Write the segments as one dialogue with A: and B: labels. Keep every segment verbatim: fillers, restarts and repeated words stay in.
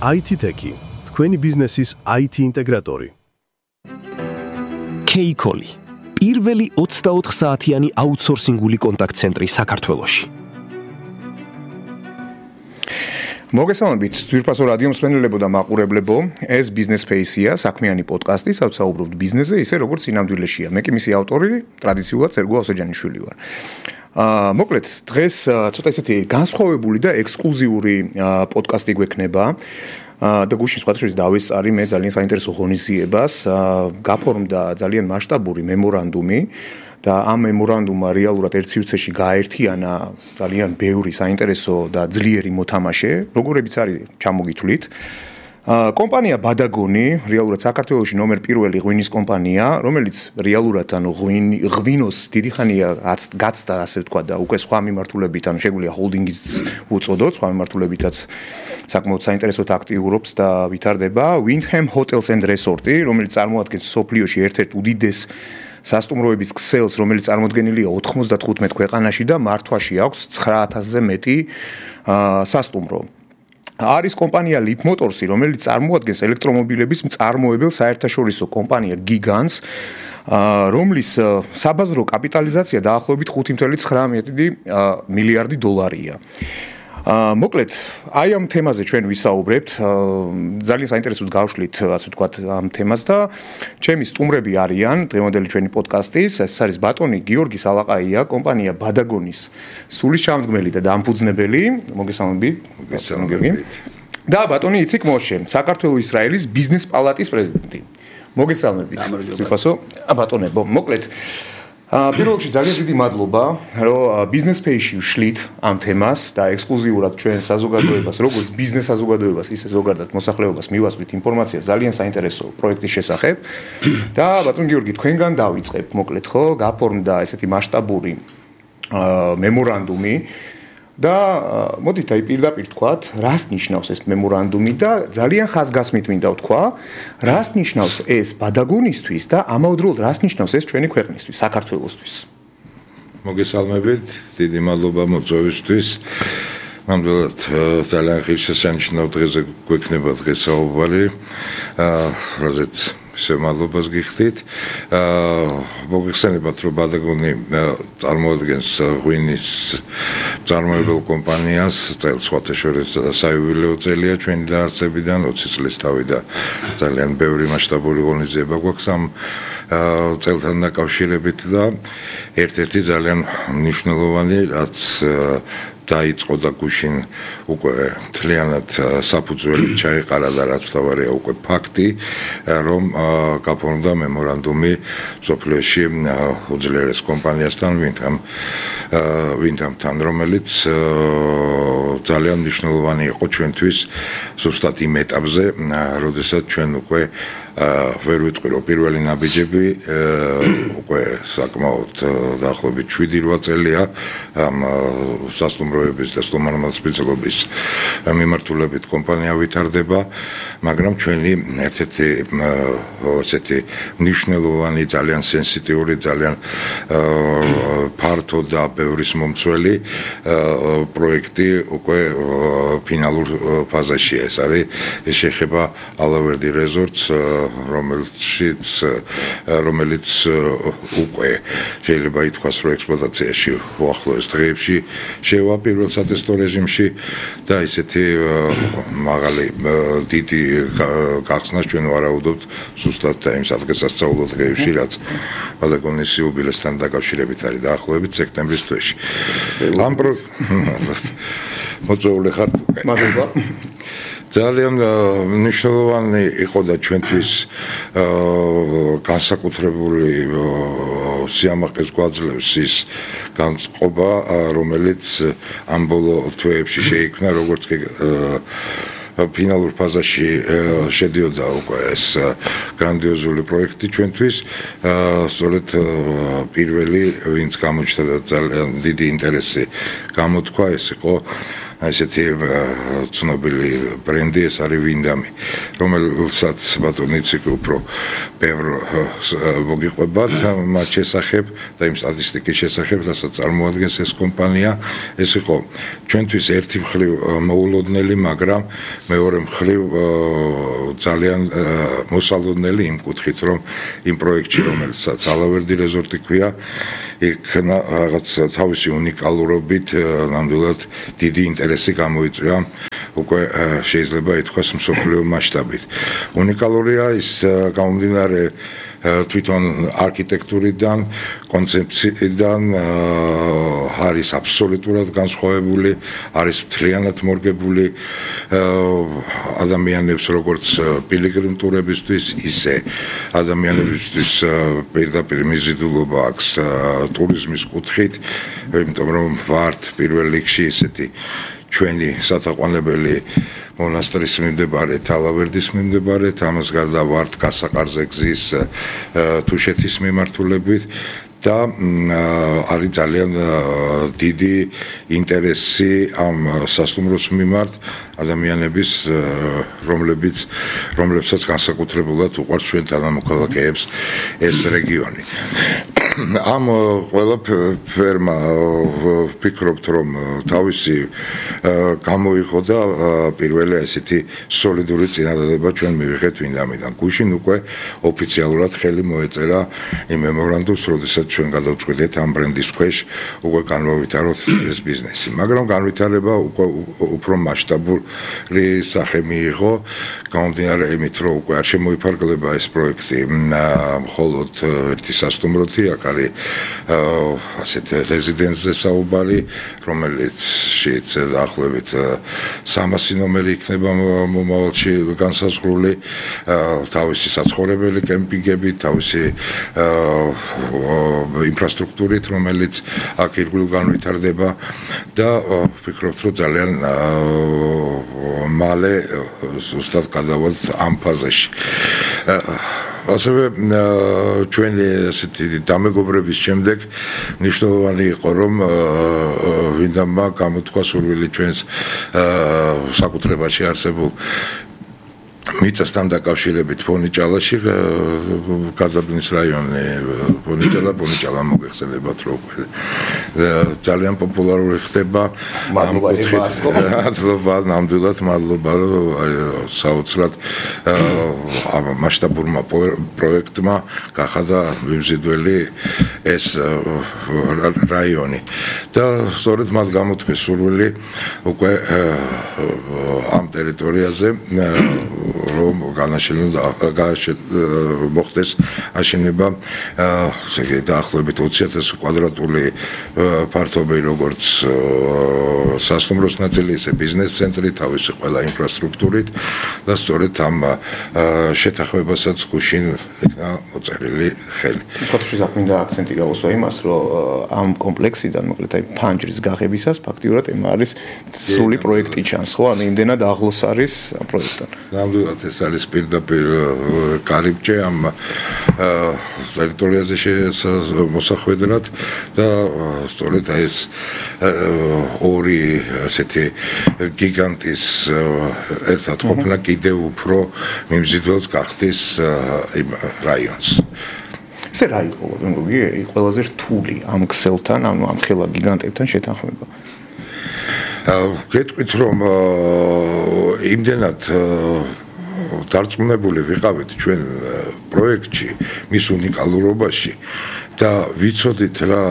A: აი თი Tech, თქვენი ბიზნესის აი თი ინტეგრატორი.
B: K-Call, პირველი ოცდაოთხ საათიანი აუთსორსინგული კონტაქტ-ცენტრი საქართველოში.
C: მოგესალმებით, ძვირფასო რადიო მსმენელებო და მაყურებლებო, ეს Business Space-ია, საქმიანი პოდკასტი, სადაც საუბრობთ ბიზნესზე, ისე როგორც სინამდვილეშია. მე კი მისი ავტორი, ტრადიციულად სერგო ავსეჯანიშვილი ვარ. აა, მოკლედ, დღეს ცოტა ისეთი განსხვავებული და ექსკლუზიური პოდკასტი გვექნება. და გუშინ სხვათა შორის დავესწარი მე ძალიან საინტერესო ღონისძიებას, გაფორმდა ძალიან მასშტაბური მემორანდუმი და ამ მემორანდუმმა რეალურად ერთ სივრცეში გააერთიანა ძალიან ბევრი საინტერესო და ძლიერი მოთამაშე, როგორებიც არის ჩამოგითვლით. კომპანია ბადაგონი, რეალურად საქართველოში ნომერ პირველი ღვინის კომპანია, რომელიც რეალურად ანუ ღვინოს დიდი ხანია გაცდა, ასე ვთქვა და უკვე სხვა მიმართულებით, ანუ შეგვიძლია ჰოლდინგიც უწოდოთ, სხვა მიმართულებითაც საკმაოდ საინტერესოდ აქტიურობს და ვითარდება. Windham Hotels and Resort-ი, რომელიც წარმოადგენს სოფლიოში ერთ-ერთ უდიდეს სასტუმროების ქსელს, რომელიც წარმოდგენილია ოთხმოცდათხუთმეტ ქვეყანაში და მართვაში აქვს ცხრა ათასზე მეტი სასტუმრო. არის კომპანია Leap Motors-ი, რომელიც წარმოადგენს ელექტრომობილების მწარმოებელ საერთაშორისო კომპანია გიგანტს, რომლის საბაზრო კაპიტალიზაცია დაახლოებით ხუთი წუთი ცხრა მილიარდი დოლარია. მოკლედ, აი ამ თემაზე ჩვენ ვისაუბრებთ, ძალიან საინტერესოდ გავშლით, ასე ვთქვათ, ამ თემას და ჩემი სტუმრები არიან დღევანდელი ჩვენი პოდკასტის, ეს არის ბატონი გიორგი სალაყაია, კომპანია ბადაგონის სულისჩამდგმელი და დამფუძნებელი, მოგესალმებით, მოგესალმებით. და ბატონი იციქ მოშე, საქართველოს-ისრაელის ბიზნეს პალატის პრეზიდენტი. მოგესალმებით. ვიფასო, ბატონებო, მოკლედ პირველ რიგში ძალიან დიდი მადლობა, რომ Business Space-ში ვშლით ამ თემას და ექსკლუზიურად ჩვენ საზოგადოებას, როგორც ბიზნეს საზოგადოებას, ისე ზოგადად მოსახლეობას მივასწრით ინფორმაციას ძალიან საინტერესო პროექტის შესახებ. და ბატონ გიორგი, თქვენგან დავიწყებ, მოკლედ ხო, გაფორმდა ესეთი მასშტაბური მემორანდუმი და მოდით აი პირდაპირ თქვათ, რას ნიშნავს ეს მემორანდუმი და ძალიან ხაზგასმით მინდა ვთქვა, რას ნიშნავს ეს ბადაგონისთვის და ამავდროულად რას ნიშნავს ეს ჩვენი ქვეყნისთვის, საქართველოსთვის.
D: მოგესალმებით, დიდი მადლობა მოწვევისთვის. ნამდვილად ძალიან ღირსშესანიშნავ დღეზე გვექნება დღეს საუბარი, რაზეც ისე მადლობას გიხდით. მოგეხსენებათ, რომ ბადაგონი წარმოადგენს ღვინის მწარმოებელ კომპანიას, წელს სხვათა შორის საიუბილეო წელია ჩვენი დაარსებიდან, ოცი წლის თავი და ძალიან ბევრი მასშტაბური ღონისძიება გვაქვს ამ წელთან დაკავშირებით და ერთ-ერთი ძალიან მნიშვნელოვანი, რაც დაიწყო და გუშინ უკვე მთლიანად საფუძველი ჩაეყარა და რაც თავარია უკვე ფაქტი, რომ გაფორმდა მემორანდუმი სოფლიოში უძლიერეს კომპანიასთან, Windham Windhamთან, რომელიც ძალიან მნიშვნელოვანი იყო ჩვენთვის ზუსტად იმ ეტაპზე, როდესაც ჩვენ უკვე ვერ ვიტყვი, რომ პირველი ნაბიჯები უკვე საკმაოდ დაახლოებით შვიდი რვა წელია ამ სასტუმროების და სტუმართმოწყობის მიმართულებით კომპანია ვითარდება, მაგრამ ჩვენი ერთ-ერთი ესეთი მნიშვნელოვანი, ძალიან სენსიტიური, ძალიან ფართო და ბევრის მომცველი პროექტი უკვე ფინალურ ფაზაშია. ეს არის ეს შეეხება ალავერდი რეზორტს, რომელშიც რომელიც უკვე შეიძლება ითქვას, რომ ექსპლუატაციაში უახლოეს დღეებში შევა პირველ სატესტო რეჟიმში და ისეთი მაღალი დიდი გახსნას ჩვენ ვარაუდობთ ზუსტად იმ სადღესასწაულო დღეებში, რაც ბადაგონის იუბილესთან დაკავშირებით არის დაახლოებით სექტემბრის თვეში. ამ მოწვეული ხართ უკვე.
C: მადლობა.
D: ძალიან მნიშვნელოვანი იყო და ჩვენთვის განსაკუთრებული სიამაყეს გვაძლევს ის განწყობა, რომელიც ამ ბოლო თვეებში შეიქმნა, როგორც კი ფინალურ ფაზაში შედიოდა უკვე ეს გრანდიოზული პროექტი ჩვენთვის. სწორედ პირველი, ვინც გამოჩნდა და ძალიან დიდი ინტერესი გამოთქვა, ეს იყო ესეთი ცნობილი ბრენდი ეს არის ვინდამი, რომელსაც ბატონი ციკი უფრო ბევრ მოგიყვებათ მათ შესახებ და იმ სტატისტიკის შესახებ, რასაც წარმოადგენს ეს კომპანია. ეს იყო ჩვენთვის ერთი მხრივ მოულოდნელი, მაგრამ მეორე მხრივ ძალიან მოსალოდნელი იმ კუთხით, რომ იმ პროექტში, რომელსაც ალავერდი რეზორტი ქვია, იქ რაღაც თავისი უნიკალურობით ნამდვილად დიდი ინტერესი გამოიწვია უკვე შეიძლება ითქვას მსოფლიო მასშტაბით. უნიკალურია ის გამომდინარე თვითონ არქიტექტურიდან, კონცეფციიდან არის აბსოლუტურად განსხვავებული, არის მთლიანად მორგებული ადამიანებს როგორც პილიგრიმ ტურებისთვის, ისე ადამიანებისთვის პირდაპირ მიზიდულობა აქვს ტურიზმის კუთხით, იმიტომ რომ ვართ პირველ რიგში ისეთი ჩვენი სათაყვანებელი მონასტრის მიმდებარე, ალავერდის მიმდებარე, ამას გარდა ვართ გასაყარზე გზის თუშეთის მიმართულებით და არის ძალიან დიდი ინტერესი ამ სასტუმროს მიმართ ადამიანების, რომლებიც რომლებსაც განსაკუთრებულად უყვართ ჩვენ თანამოქალაქეებს ეს რეგიონი. ამ ყველა ფერმა ვფიქრობთ, რომ თავისი გამოიღო და პირველი ესეთი სოლიდური წინადადება ჩვენ მივიღეთ ვინდამიდან. გუშინ უკვე ოფიციალურად ხელი მოეწერა იმ მემორანდუმს, როდესაც ჩვენ გადავწყვიტეთ ამ ბრენდის ქვეშ უკვე განვავითაროთ ეს ბიზნესი. მაგრამ განვითარება უკვე უფრო მასშტაბური სახე მიიღო, გამომდინარე იმით, რომ უკვე არ შემოიფარგლება ეს პროექტი მხოლოდ ერთი სასტუმროთი, აქ არის ასეთ რეზიდენსზე საუბარი, რომელიც შეიც დაახლოებით სამასი ნომერი იქნება მომავალში განსაზღვრული, თავისი საცხოვრებელი კემპინგებით, თავისი ინფრასტრუქტურით, რომელიც აქ ირგვლივ განვითარდება და ვფიქრობთ, რომ ძალიან მალე ზუსტად გადავალთ ამ ფაზაში. ასევე ჩვენი ესეთი დამეგობრების შემდეგ მნიშვნელოვანი იყო, რომ ვინდამმა გამოთქვა სურვილი ჩვენს საკუთრებაში არსებულ მიწასთან დაკავშირებით ფონიჭალაში, გარდაბნის რაიონი, ფონიჭალა, ფონიჭალა მოგეხსენებათ, რომ ძალიან პოპულარული ხდება ამ კუთხით. მადლობა, ნამდვილად მადლობა, რომ საოცრად მასშტაბურმა პროექტმა გახადა მიმზიდველი ეს რაიონი. და სწორედ მათ გამოთქვეს სურვილი უკვე ამ ტერიტორიაზე რომ განაშენოს მოხდეს აშენება ესე იგი დაახლოებით ოცი ათასი კვადრატული ფართობი როგორც სასტუმროს ნაწილი, ისე ბიზნეს ცენტრი, თავისი ყველა ინფრასტრუქტურით და სწორედ ამ შეთანხმებასაც გუშინ იქნა მოწერილი ხელი.
C: ფაქტში საქმეა აქცენტი გავუსვა იმას, რომ ამ კომპლექსიდან მოკლედ აი ფანჯრის გაღებისას ფაქტიურად ემ არის სრული პროექტი ჩანს, ხო? ანუ იმდენად ახლოს არის ამ პროექტთან.
D: ნამდვილად ეს არის პირდაპირ კარიბჭე ამ ტერიტორიაზე მოსახვედრად და სწორედ ეს ორი ასეთი გიგანტის ერთად ყოფნა კიდევ უფრო მიმზიდველს გახდის იმ რაიონს.
C: ესე რა იყო, მგონი, ყველაზე რთული ამ ქსელთან, ანუ ამ ხელა გიგანტებთან შეთანხმება?
D: გეტყვით, რომ იმდენად დარწმუნებული ვიყავით ჩვენ პროექტში, მის უნიკალურობაში და ვიცოდით რა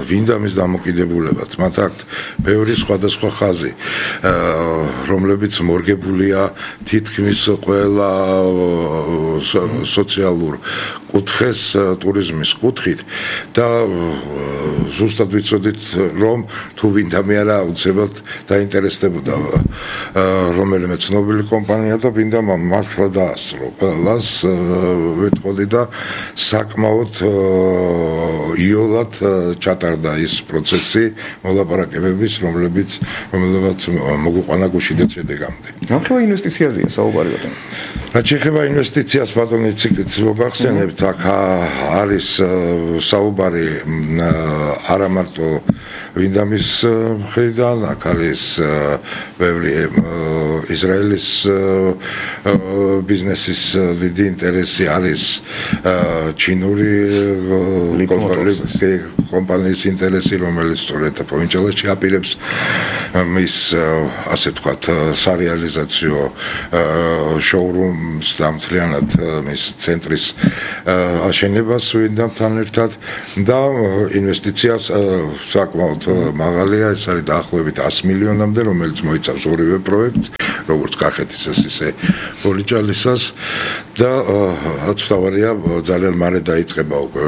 D: ვინდამის დამოკიდებულებაც, მათ აქვთ ბევრი სხვადასხვა ხაზი, რომლებიც მორგებულია თითქმის ყველა სოციალურ კუთხეს ტურიზმის კუთხით და ზუსტად ვიცოდით, რომ თუ ვინდამი არა აუცილებლად დაინტერესდებოდა რომელიმე ცნობილი კომპანია და ვინდამა მართლა დაასრულა ყველას ვეთყოდი და საკმაოდ იოლად ჩატარდა ის პროცესი მოლაპარაკებების, რომლებიც რომელებაც მოგვიყვანა გუშინდელ შედეგამდე.
C: რა ინვესტიციაზეა საუბარი ბატონო?
D: რაც შეეხება ინვესტიციას, ბატონო, ციკიც მოგახსენებთ, ვთქვათ, აქ არის საუბარი არა მარტო ვინდამის მხრიდან, აქ არის ბევრი ისრაელის ბიზნესის დიდი ინტერესი, არის ჩინური კომპანიის ინტერესი, რომელიც სწორედ პოვინჩალაში აპირებს მის ასე ვთქვათ სარეალიზაციო შოურუმს და მთლიანად მის ცენტრის აშენებას ვინდამთან ერთად და ინვესტიციას საკმაოდ მაღალია, ეს არის დაახლოებით ათი მილიონამდე, რომელიც მოიცავს ორივე პროექტს, როგორც კახეთისას, ისე პოვინჩალისას და აცვავარია ძალიან მალე დაიწყება უკვე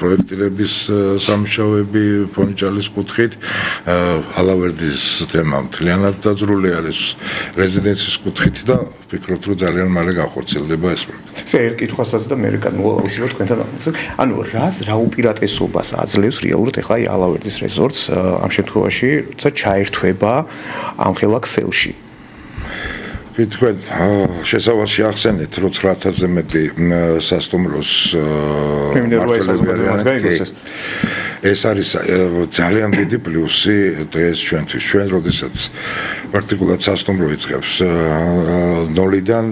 D: პროექტირების სამუშაოები პოვინჩალის კუთხით, ალავერდის თემა მთლიანად დაძრული არის რეზიდენციის კუთხით და ვფიქრობთ, რომ ძალიან მალე განხორციელდება ეს პროექტი.
C: ესე ერთ კითხვასაც და მე განმოვავსებ თქვენთან ამბობთ. ანუ რას რა უპირატესობას აძლევს რეალურად ახლა აი ალავერდის რეზორტს ამ შემთხვევაში, როცა ჩაერთვება ამ ხელა ქსელში?
D: თქვენ შესავალში ახსენეთ, რომ ცხრა ათასზე მეტი სასტუმროს მმართველები ეს არის ძალიან დიდი პლუსი დღეს ჩვენთვის. ჩვენ როდესაც პრაქტიკულად სასტუმრო იწყებს ნოლიდან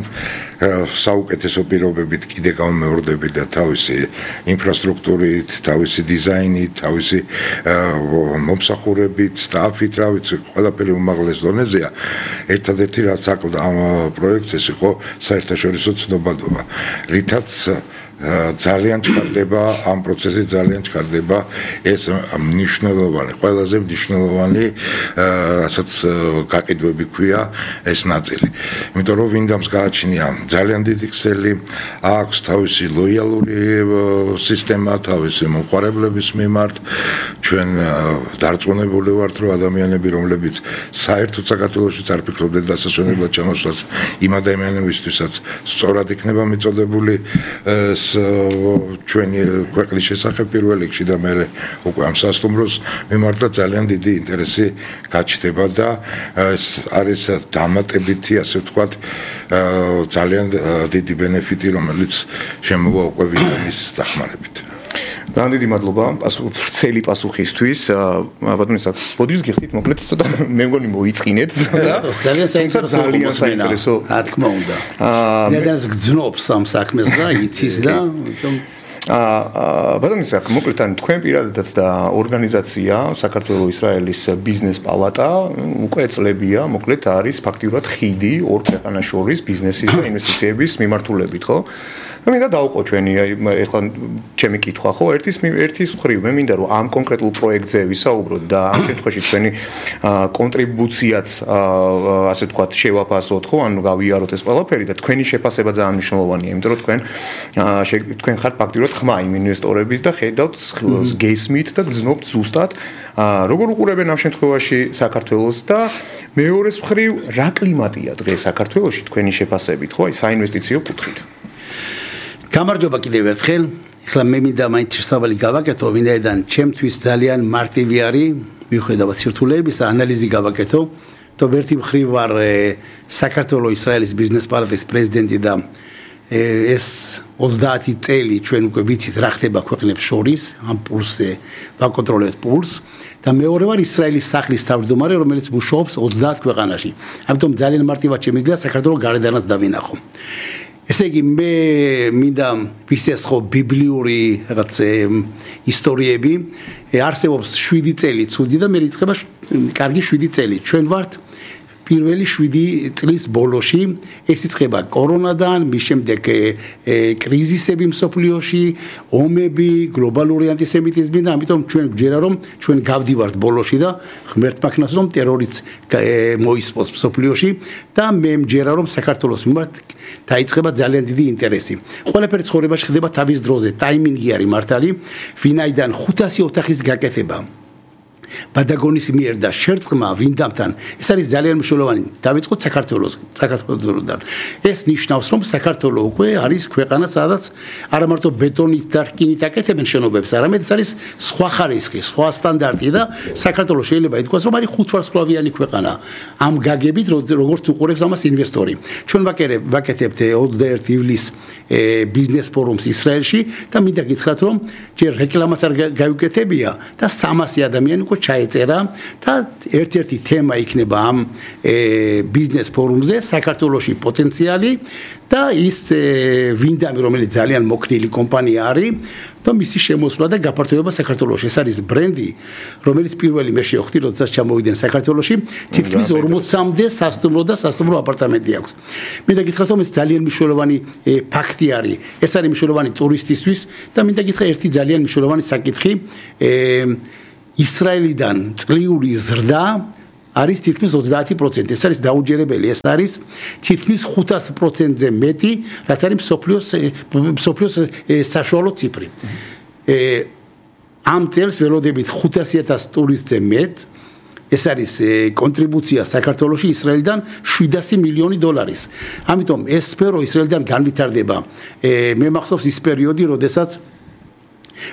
D: საუკეთესო პირობებით კიდე გამომეორდებით და თავისი ინფრასტრუქტურით, თავისი დიზაინით, თავისი მომსახურებით, სტაფით, რა ვიცი, ყველაფერი უმაღლეს დონეზეა. ერთადერთი რაც აკლდა ამ პროექტს ეს იყო საერთაშორისო ცნობადობა, რითაც ძალიან ჩქარდება ამ პროცესში, ძალიან ჩქარდება ეს მნიშვნელოვანი, ყველაზე მნიშვნელოვანი, რასაც გაყიდვები ქვია ეს ნაწილი. იმიტომ რომ ვინდამს გააჩნია ძალიან დიდი ქსელი, აქვს თავისი ლოიალური სისტემა, თავისი მომხმარებლების მიმართ. ჩვენ დარწმუნებული ვართ, რომ ადამიანები, რომლებიც საერთოდ საქართველოში არ ფიქრობდნენ დასასვენებლად ჩამოსვლას, იმ ადამიანებისთვისაც სწორად იქნება მიწოდებული ჩვენი ქვეყნის შესახებ პირველ რიგში და მე უკვე ამ სასტუმროს მიმართ და ძალიან დიდი ინტერესი გაჩნდება და ეს არის დამატებითი, ასე ვთქვათ, ძალიან დიდი ბენეფიტი, რომელიც შემოვა უკვე ვინდამის დახმარებით.
C: ძალიან დიდი მადლობა ვრცელი პასუხისთვის. ბატონო საკ, ბოდიშს გიხდით მოკლედ ცოტა მე მგონი მოიწყინეთ ცოტა.
E: ძალიან საინტერესო, რა თქმა უნდა. ნედანს გძნობს ამ საქმეს და იცის და
C: აა ბატონო საკ, მოკლედ ან თქვენ პირადადაც და ორგანიზაცია საქართველოს-ისრაელის ბიზნეს პალატა უკვე წლებია, მოკლედ არის ფაქტიურად ხიდი ორ ქვეყანას შორის ბიზნესის და ინვესტიციების მიმართულებით, ხო? მე მინდა დავყო ჩვენი ეხლა ჩემი კითხვა ხო ერთის ერთის მხრივ მე მინდა რომ ამ კონკრეტულ პროექტზე ვისაუბროთ და ამ შემთხვევაში ჩვენი კონტრიბუციაც ასე ვთქვათ შევაფასოთ ხო ანუ გავიაროთ ეს ყველაფერი და თქვენი შეფასება ძალიან მნიშვნელოვანია იმიტომ რომ თქვენ თქვენ ხართ ფაქტიურად ხმა იმ ინვესტორების და ხედავთ გესმით და გძნობთ ზუსტად როგორ უყურებენ ამ შემთხვევაში საქართველოს და მეორეს მხრივ რა კლიმატია დღეს საქართველოში თქვენი შეფასებით ხო აი საინვესტიციო კუთხით
E: გამარჯობა კიდევ ერთხელ. ეხლა მე მინდა მაინც შესავალი გავაკეთო, ვინაიდან ჩემთვის ძალიან მარტივი არის მიუხედავად სირთულეების ანალიზი გავაკეთო. то ერთი მხრივ ვარ საქართველოს-ისრაელის ბიზნეს პალატის პრეზიდენტი და ეს ოცდაათი წელი ჩვენ უკვე ვიცით რა ხდება ქვეყნებს შორის, ამ პულსზე ვაკონტროლებთ პულს და მეორე ვარ ისრაელის სახლის თავმჯდომარე, რომელიც მუშაობს ოცდაათ ქვეყანაში. ამიტომ ძალიან მარტივად შემიძლია საქართველოს გარედანაც დავინახო. ესე იგი მე მინდა ვისესხო ბიბლიური რაღაც ისტორიები არსებობს შვიდი წელი ცუდი და მე რიცხება კარგი შვიდი წელი ჩვენ ვართ პირველი შვიდი წლის ბოლოში ეს იწყება კორონადან მის შემდეგ კრიზისები მსოფლიოში ომები გლობალური ანტისემიტიზმი და ამიტომ ჩვენ გვჯერა რომ ჩვენ გავდივართ ბოლოში და ღმერთმა ქნას რომ ტერორიც მოისპოს მსოფლიოში და მე მჯერა რომ საქართველოს მიმართ დაიწყება ძალიან დიდი ინტერესი. ყველაფერი ცხოვრებაში ხდება თავის დროზე, ტაიმინგი არის მართალი, ვინაიდან ხუთასი ოთახის გაკეთება ბადაგონის მიერ და შერწყმა ვინდამთან ეს არის ძალიან მნიშვნელოვანი დავიწყოთ საქართველოს საქართველოსთან ეს ნიშნავს რომ საქართველო უკვე არის ქვეყანა სადაც არა მარტო ბეტონით და რკინით აკეთებენ შენობებს არამედ ეს არის სხვა ხარისხი სხვა სტანდარტი და საქართველო შეიძლება ითქვას რომ არის ხუთვარსკვლავიანი ქვეყანა ამ გაგებით როგორც უყურებს ამას ინვესტორი ჩვენ ვაკეთებთ ოცდაერთი ივლისს ბიზნეს ფორუმს ისრაელში და მინდა გითხრათ რომ ჯერ რეკლამაც არ გავიკეთებია და სამასი ადამიანი უკვე ჩაეწერა და ერთ-ერთი თემა იქნება ამ ბიზნეს ფორუმზე საქართველოში პოტენციალი და ის ვინდამი რომელიც ძალიან მოქნილი კომპანია არის და მისი შემოსვლა და გაფართოება საქართველოში ეს არის ბრენდი რომელიც პირველი მე შევხვდი როდესაც ჩამოვიდნენ საქართველოში თითქმის ორმოცამდე სასტუმრო და სასტუმრო აპარტამენტი აქვს მინდა გითხრათ რომ ეს ძალიან მნიშვნელოვანი ფაქტი არის ეს არის მნიშვნელოვანი ტურისტისთვის და მინდა გითხრა ერთი ძალიან მნიშვნელოვანი საკითხი ისრაელიდან წლიური ზრდა არის თითქმის ოცდაათი პროცენტი ეს არის დაუჯერებელი ეს არის თითქმის ხუთასი პროცენტზე მეტი რაც არის მსოფლიოს მსოფლიოს საშუალო ციფრი ამ წელს ველოდებით ხუთასი ათასი ტურისტზე მეტ ეს არის კონტრიბუცია საქართველოში ისრაელიდან შვიდასი მილიონი დოლარის ამიტომ ეს სფერო ისრაელიდან განვითარდება მე მახსოვს ის პერიოდი როდესაც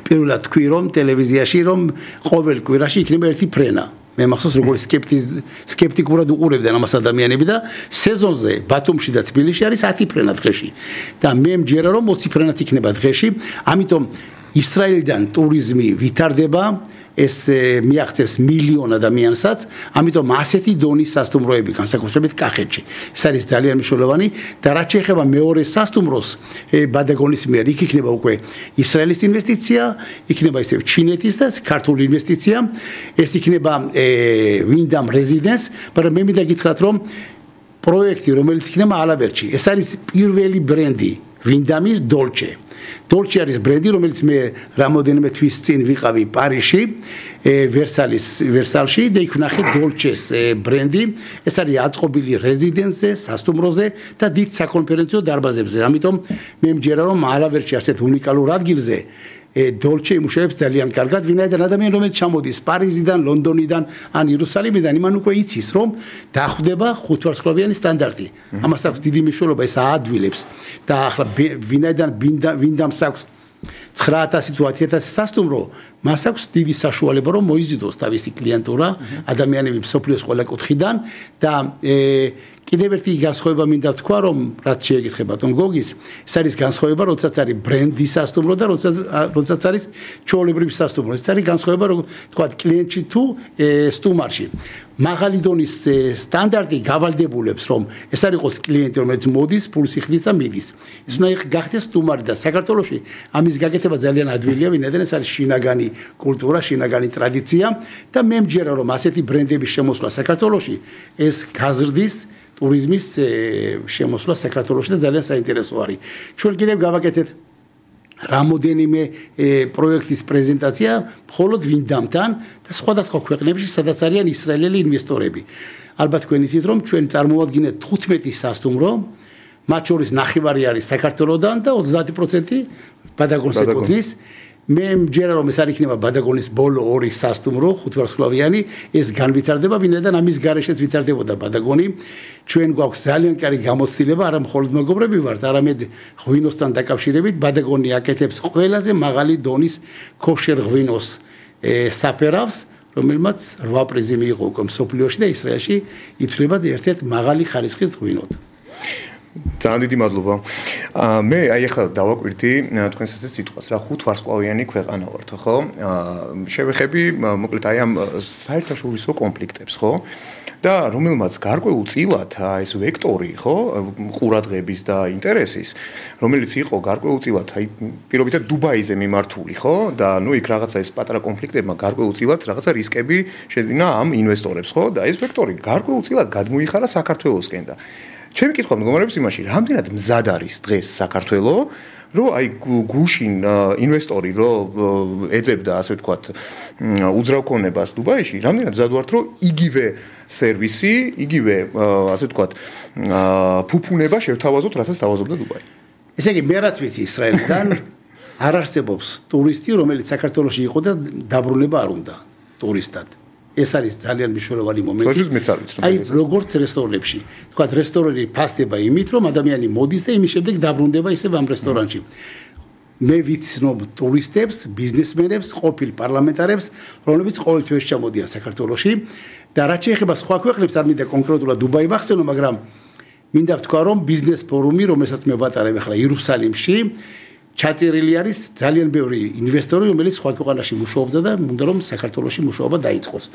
E: პირველად თქვი რომ ტელევიზიაში რომ ყოველ კვირაში იქნება ერთი ფრენა მე მახსოვს როგორ სკეპტიკურად უყურებდნენ ამას ადამიანები და სეზონზე ბათუმში და თბილისში არის ათი ფრენა დღეში და მე მჯერა რომ ოცი ფრენაც იქნება დღეში ამიტომ ისრაელიდან ტურიზმი ვითარდება ეს მიაღწევს მილიონ ადამიანსაც ამიტომ ასეთი დონის სასტუმროები განსაკუთრებით კახეთში ეს არის ძალიან მნიშვნელოვანი და რაც შეეხება მეორე სასტუმროს ბადაგონის მიერ იქ იქნება უკვე ისრაელის ინვესტიცია იქნება ისევ ჩინეთის და ქართული ინვესტიცია ეს იქნება ვინდამ რეზიდენს მაგრამ მე მინდა გითხრათ რომ პროექტი რომელიც იქნება ალაბერტში ეს არის პირველი ბრენდი ვინდამის დოლჩე დოლჩე არის ბრენდი რომელიც მე რამოდენიმე თვის წინ ვიყავი პარიზში ვერსალის ვერსალში და იქ ვნახე დოლჩეს ბრენდი ეს არის აწყობილი რეზიდენსზე სასტუმროზე და დიდ საკონფერენციო დარბაზებზე ამიტომ მე მჯერა რომ ალაბერტში ასეთ უნიკალურ ადგილზე დოლჩე იმუშავებს ძალიან კარგად ვინაიდან ადამიანი რომელიც ჩამოდის პარიზიდან ლონდონიდან ან იერუსალიმიდან იმან უკვე იცის რომ დახვდება ხუთვარსკვლავიანი სტანდარტი ამას აქვს დიდი მნიშვნელობა ეს აადვილებს და ახლა ვინაიდან ვინდამს აქვს ცხრაათასი თუ ათი ათასი სასტუმრო მას აქვს დიდი საშუალება რომ მოიზიდოს თავისი კლიენტურა ადამიანები მსოფლიოს ყველა კუთხიდან და კიდევ ერთი განსხვავება მინდა თქვა რომ რაც შეეკითხება ბატონ გოგის ეს არის განსხვავება როდესაც არის ბრენდი სასტუმრო და როდესაც როდესაც არის ჩვეულებრივი სასტუმრო ეს არის განსხვავება რომ თქვა კლიენტში თუ სტუმარში მაღალი დონის სტანდარტი გავალდებულებს რომ ეს არ იყოს კლიენტი რომელიც მოდის ფულს იხდის და მიდის ეს უნდა გახდეს სტუმარი და საქართველოში ამის გაკეთება ძალიან ადვილია ვინაიდან ეს არის შინაგანი კულტურა შინაგანი ტრადიცია და მე მჯერა რომ ასეთი ბრენდების შემოსვლა საქართველოში ეს გაზრდის ტურიზმის შემოსვლა საქართველოში და ძალიან საინტერესო არის ჩვენ კიდევ გავაკეთეთ რამოდენიმე პროექტის პრეზენტაცია მხოლოდ ვინდამთან და სხვადასხვა ქვეყნებში სადაც არიან ისრაელელი ინვესტორები ალბათ თქვენ იცით რომ ჩვენ წარმოვადგინეთ თხუთმეტი სასტუმრო მათ შორის ნახევარი არის საქართველოდან და ოცდაათი პროცენტი ბადაგონს ეკუთვნის მე მჯერა რომ ეს არ იქნება ბადაგონის ბოლო ორი სასტუმრო ხუთვარსკვლავიანი ეს განვითარდება ვინაიდან ამის გარეშეც ვითარდებოდა ბადაგონი ჩვენ გვაქვს ძალიან კარგი გამოცდილება არა მხოლოდ მეგობრები ვართ არამედ ღვინოსთან დაკავშირებით ბადაგონი აკეთებს ყველაზე მაღალი დონის ქოშერ ღვინოს საფერავს რომელმაც რვა პრიზი მიიღო უკვე მსოფლიოში და ისრაელში ითვლება ერთ-ერთ მაღალი ხარისხის ღვინოდ
C: ძალიან დიდი მადლობა. მე აი ახლა დავაკვირდი თქვენს ასეთ სიტყვას რა ხუთვარსკვლავიანი ქვეყანა ვართ, ხო? შევეხები მოკლედ აი ამ საერთაშორისო კონფლიქტებს, ხო? და რომელმაც გარკვეულწილად ეს ვექტორი, ხო, ყურადღების და ინტერესის, რომელიც იყო გარკვეულწილად აი პირობითად დუბაიზე მიმართული, ხო? და ნუ იქ რაღაცა ეს პატარა კონფლიქტებმა გარკვეულწილად რაღაცა რისკები შეძინა ამ ინვესტორებს, ხო? და ეს ვექტორი გარკვეულწილად გადმოიხარა საქართველოსკენ და ჩემი კითხვა მდგომარეობს იმაში, რამდენად მზად არის დღეს საქართველო, რომ აი გუშინ ინვესტორი რომ ეძებდა, ასე ვთქვათ, უძრავქონებას დუბაიში, რამდენად მზად ვართ, რომ იგივე სერვისი, იგივე, ასე ვთქვათ, ფუფუნება შევთავაზოთ, რასაც თავაზობდა დუბაი.
E: ესე იგი, მე რაც ვიცი ისრაელიდან არ არსებობს ტურისტი, რომელიც საქართველოში იყო და დაბრუნება არ უნდა ტურისტად. ეს არის ძალიან მნიშვნელოვანი მომენტი.
C: თორემ მეც არ ვიცი.
E: აი, როგორც რესტორნებში. თქვა, რესტორანი ფასდება იმით, რომ ადამიანი მოდის და იმის შემდეგ დაბრუნდება ისევ ამ რესტორანში. მე ვიცნობ ტურისტებს, ბიზნესმენებს, ყოფილ პარლამენტარებს, რომლებიც ყოველთვის ჩამოდიან საქართველოში და რაც შეეხება სხვა ქვეყნებს, არ მინდა კონკრეტულად დუბაი ვახსენო, მაგრამ მინდა ვთქვა, რომ ბიზნეს ფორუმი, რომელსაც მე ვატარებ ახლა იერუსალიმში, ჩაწერილი არის ძალიან ბევრი ინვესტორი, რომელიც სხვა ქვეყანაში მუშაობდა და მინდა რომ საქართველოში მუშაობა დაიწყოს.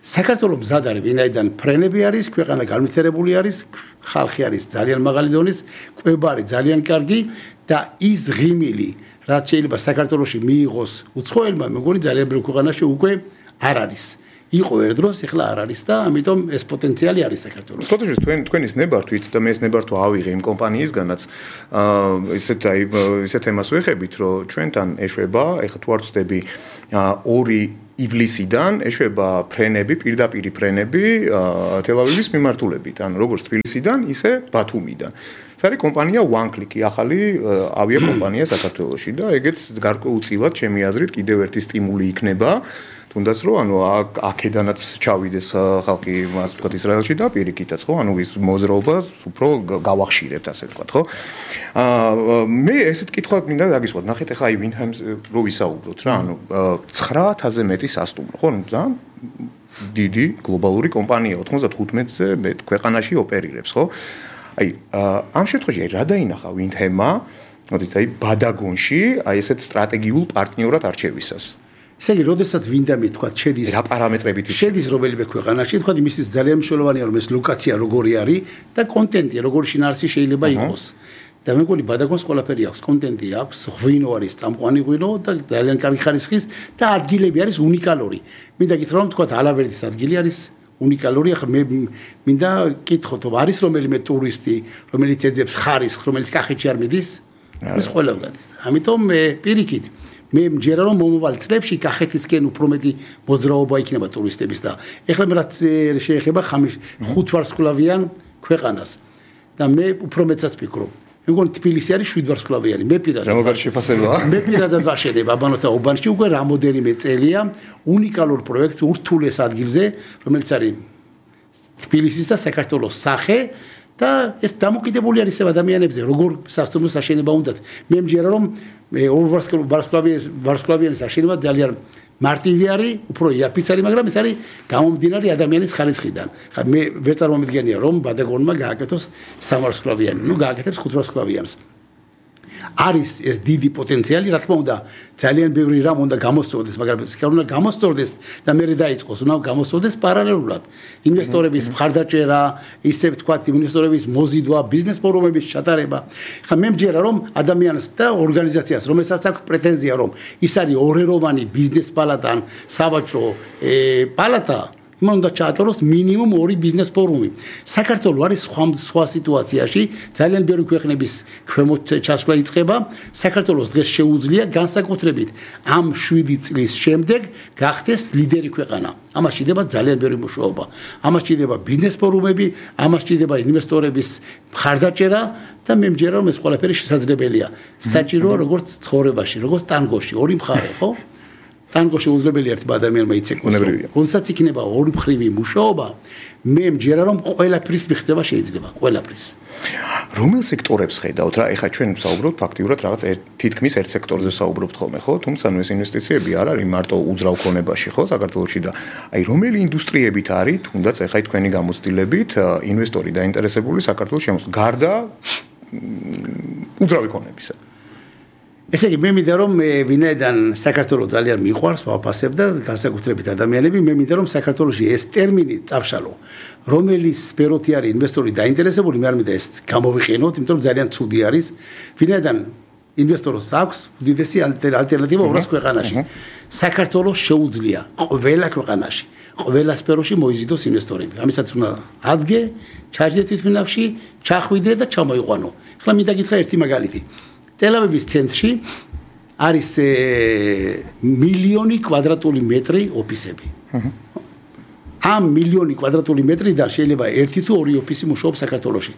E: საქართველოს მზად არის, ვინაიდან ფრენები არის, ქვეყანა განვითარებული არის, ხალხი არის ძალიან მაღალი დონის, კვება არის ძალიან კარგი და ის ღიმილი, რაც შეიძლება საქართველოში მიიღოს უცხოელმა, მეგონი ძალიან ბევრ ქვეყანაში უკვე არ არის. იყო ერთდროს, ეხლა არ არის და ამიტომ ეს პოტენციალი არის საქართველოს.
C: სკოტოში თქვენ თქვენის ნებართვით და მე ეს ნებართვა ავიღე იმ კომპანიისგანაც, აა ისეთ აი ისეთ თემას ვეხებით, რომ ჩვენთან ეშვება, ეხლა თუ არ ვწდები, ორი ივლისიდან ეშვება ფრენები, პირდაპირი ფრენები თელ-ავივის მიმართულებით, ანუ როგორც თბილისიდან, ისე ბათუმიდან. ეს არის კომპანია One Click, ახალი ავიაკომპანია საქართველოში და ეგეც გარკვეულწილად ჩემი აზრით კიდევ ერთი სტიმული იქნება. თუნდაც რომ ანუ აქედანაც ჩავიდეს ხალხი, ასე ვთქვათ, ისრაელში და პირიქითაც, ხო? ანუ ის მოძრაობას უფრო გავახშირებთ, ასე ვთქვათ, ხო? აა მე ესეთ კითხვა მინდა დაგისვათ. ნახეთ, ახლა აი ვინჰემს რო ვისაუბროთ რა, ანუ ცხრა ათასზე მეტი სასტუმრო, ხო? ძალიან დიდი გლობალური კომპანია, ოთხმოცდათხუთმეტზე მეტ ქვეყანაში ოპერირებს, ხო? აი ამ შემთხვევაში რა დაინახა ვინჰემმა, მოდით აი ბადაგონში, აი ესეთ სტრატეგიულ პარტნიორად არჩევისას.
E: ესე იგი, როდესაც ვინდამი თქვა, შედის
C: რა პარამეტრებით
E: შედის რომელიმე ქვეყანაში, თქვა, იმისთვის ძალიან მნიშვნელოვანია, რომ ეს ლოკაცია როგორი არის და კონტენტი როგორი შინაარსი შეიძლება იყოს. და მე მგონი ბადაგონს ყველაფერი აქვს, კონტენტი აქვს, ღვინო არის, წამყვანი ღვინო და ძალიან კარგი ხარისხის და ადგილები არის უნიკალური. მინდა გითხრა, რომ თქვა, ალავერდის ადგილი არის უნიკალური, ახლა მე მინდა გითხოთ, რომ არის რომელიმე ტურისტი, რომელიც ეძებს ხარისხს, რომელიც კახეთში არ მიდის? ეს ყველა გადის. ამიტომ მე პირიქით მე მჯერა რომ მომავალ წლებში კახეთისკენ უფრო მეტი მოძრაობა იქნება ტურისტების და ეხლა მე რაც შეეხება ხუთ ვარსკვლავიან ქვეყანას და მე უფრო მეცაც ვფიქრობ. მე მგონი თბილისი არის შვიდ ვარსკვლავიანი. მე პირადად
C: ზემოგარში შეფასებაა.
E: მე პირადად ვაშენებ აბანოთა უბანში უკვე რამოდენიმე წელია უნიკალურ პროექტს ურთულეს ადგილზე, რომელიც არის თბილისის და საქართველოს სახე და ეს დამოკიდებული არის ადამიანებზე, როგორ სასტუმროს აშენება უნდათ. მე მჯერა რომ ვარსკვლავიანის აშენება ძალიან მარტივი არის, უფრო იაფიც არის, მაგრამ ეს არის გამომდინარე ადამიანის ხარისხიდან. ხა მე ვერ წარმომიდგენია რომ ბადაგონმა გააკეთოს სამვარსკვლავიანი, ნუ გააკეთებს ხუთვარსკვლავიანს. არის ეს დიდი პოტენციალი, რა თქმა უნდა, ძალიან ბევრი რამ უნდა გამოსწორდეს, მაგრამ ეს უნდა გამოსწორდეს და მე დაიწყოს, უნდა გამოსწორდეს პარალელურად. ინვესტორების მხარდაჭერა, ისე ვთქვათ, ინვესტორების მოზიდვა, ბიზნეს ფორუმების ჩატარება. ხა მე მჯერა რომ ადამიანს და ორგანიზაციას, რომელსაც აქვს პრეტენზია, რომ ის არის ორეროვანი ბიზნეს პალატა, სავაჭრო პალატა, იმან უნდა ჩაატაროს მინიმუმ ორი ბიზნეს ფორუმი. საქართველოს არის სხვა სხვა სიტუაციაში, ძალიან ბევრი ქვეყნების ქვემოთ ჩასვლა იწყება. საქართველოს დღეს შეუძლია განსაკუთრებით ამ შვიდი წლის შემდეგ გახდეს ლიდერი ქვეყანა. ამას შეიძლება ძალიან ბევრი მუშაობა. ამას შეიძლება ბიზნეს ფორუმები, ამას შეიძლება ინვესტორების მხარდაჭერა და მე მჯერა რომ ეს ყველაფერი შესაძლებელია. საჭიროა როგორც ცხოვრებაში, როგორც ტანგოში, ორი მხარე, ხო? ტანგო შეუძლებელია ერთ ადამიანმა იცეკვოს. როდესაც იქნება ორი მხრივი მუშაობა, მე მჯერა რომ ყველაფრის მიღწევა შეიძლება, ყველაფრის.
C: რომელ სექტორებს ხედავთ რა? ეხლა ჩვენ ვსაუბრობთ ფაქტიურად რაღაც თითქმის ერთ სექტორზე ვსაუბრობთ ხოლმე, ხო? თუმცა ნუ ეს ინვესტიციები არ არის მარტო უძრავ ქონებაში, ხო, საქართველოში და აი რომელი ინდუსტრიებით არის, თუნდაც ეხლა თქვენი გამოცდილებით ინვესტორი დაინტერესებული საქართველოს შემოსვლა გარდა უძრავი ქონებისა.
E: ესე იგი მე მინდა რომ ვინაიდან საქართველოს ძალიან მიყვარს, ვაფასებ და განსაკუთრებით ადამიანები, მე მინდა რომ საქართველოში ეს ტერმინი წავშალო. რომელი სფეროთი არის ინვესტორი დაინტერესებული, მე არ მინდა ეს გამოვიყენოთ, იმიტომ რომ ძალიან ცუდი არის. ვინაიდან ინვესტორს აქვს უდიდესი ალტერნატივა ორას ქვეყანაში. საქართველოს შეუძლია ყველა ქვეყანაში, ყველა სფეროში მოიზიდოს ინვესტორები. ამისაც უნდა ადგე, ჩაჯდე თვითმფრინავში, ჩახვიდე და ჩამოიყვანო. ახლა მინდა გითხრა ერთი მაგალითი. ტელ-ავივის ცენტრში არის მილიონი კვადრატული მეტრი ოფისები. ამ მილიონი კვადრატული მეტრიდან შეიძლება ერთი თუ ორი ოფისი მუშაობს საქართველოში.